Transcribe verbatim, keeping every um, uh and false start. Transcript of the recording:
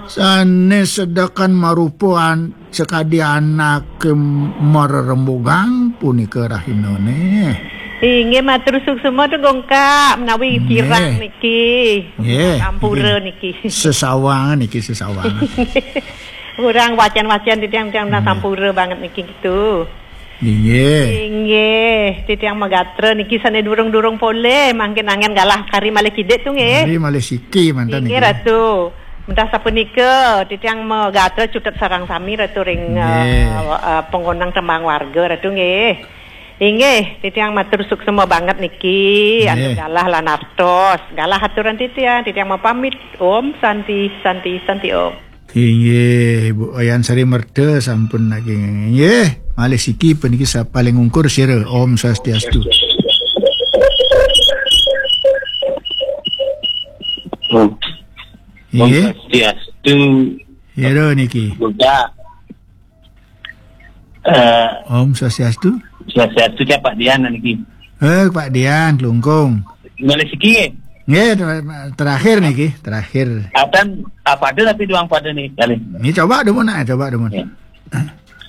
Sané sedekan marupa an-, sakadi anaké marerembugan punika rahinané. Inggih, matur suksma Dugong Kak, menawi Nggih. kirang niki. Nggih. Sampura niki. Sesawangan niki, sesawangan. Kurang wacan-wacan titiang, titiang Nggih. sampura banget niki gitu. Inggih. Inggih, titiang magatra niki sané durung-durung polih, mangkin anggén galah kari malih kidik tu nggih. Kari malih siki manten Inggih, niki. Ratu. Mentah sapunika, titiang magatra cutet sareng sami Ratu ring, Nggih. eh, eh, panggonang tembang warga Ratu nggih. Inggih, titiang matur suksma banget niki, antuk Nggih. galah lan artos. Galah aturan titiang, titiang mapamit. Om Santi, Santi, Santi Om. Inggih, Bu Wayan Sari Merta sampun lagi. Inggih, malih siki puniki sa-, paling ungkur sira. Om Swastiastu. Om. Om Inggih. Swastiastu. Ira niki. Buddha. Eh, Om Swastiastu. Swastiastu, Cak, Pak Dian niki. Eh, Pak Dian, Klungkung. Malih siki nggih? Nggih, ter-, terakhir niki, terakhir. Atan, apa ada tapi doang pada nih kali. Ini coba dulu nak, coba dulu. Ya.